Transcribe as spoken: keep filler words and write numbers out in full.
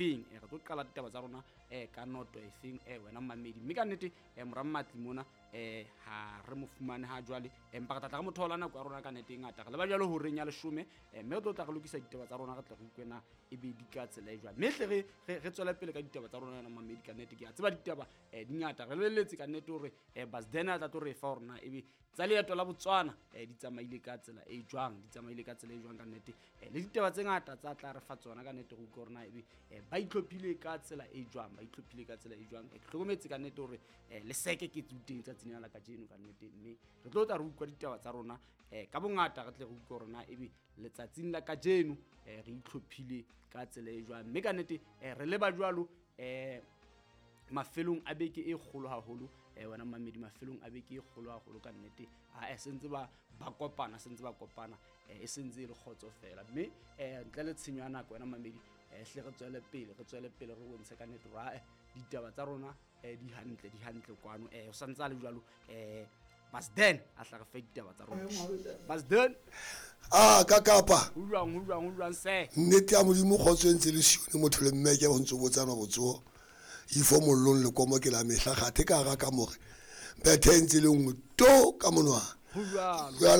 Feng re tlo qala ditaba tsa rona um ka noto e feng um wena mmamedi. Mme ka nnete um mora Mmatli mona um ha re mo fumane ha jwale, empa re tla tla re mo thola nako ya rona ka nnete e ngata. Re leba jwalo horeng ya leshome, mme re tlo tla re lokisa ditaba tsa rona, re tle re utlwe na ebe di ka tsela e jwang. Mme hle re re tswele pele ka ditaba tsa rona wena mmamedi. Ka nnete ke a tseba ditaba um di ngata, re lebelletse ka nnete hore um Basden a tla tlo re fa hore na ebe tsa leeto la Botswana um di tsamaile ka tsela e jwang, di tsamaile ka tsela e jwang ka nnete. um Le ditaba tse ngata tsa tla re fa tsona ka nnete, re utlwe hore na ebe um ba itlhophile ka tsela e jwang, ba itlhophile ka tsela e jwang. Ke hlokometse ka nnete hore um le seke ke teng tsatsing lena la kajeno ka nnete, mme re tlo tla re utlwa ditaba tsa rona um ka bongata, re tle re utlwe hore na ebe letsatsing la kajeno um re itlhophile ka tsela e jwang. Mme ka nnete um re leba jwalo um mafelong a beke e kgolo haholo, um wena mmamedi, mafelong a beke e kgolo haholo ka nnete. A sentse ba ba kopana, sentse ba kopana, e sentse e le kgotso fela. Mme um ntle le tshenyo ya nako wena mmamedi, um hle re tswele pele, re tswele pele re bontshe ka nnete hore ae ditaba tsa rona um di hantle, di hantle kwano. um O santse a le jwalo um Basden a tla re fe ditaba tsa rona. Basden, a ka kapa ho jwang, ho jwang, ho jwang se nnete ya Modimo, kgotso e ntse le sione motho le mmeke go ntse botsana botsoho ifo mollong lekomo ke la mehla gathe ka gara ka more bethe e ntse le nngwe to ka monwana. Ho jwalo. Jwale.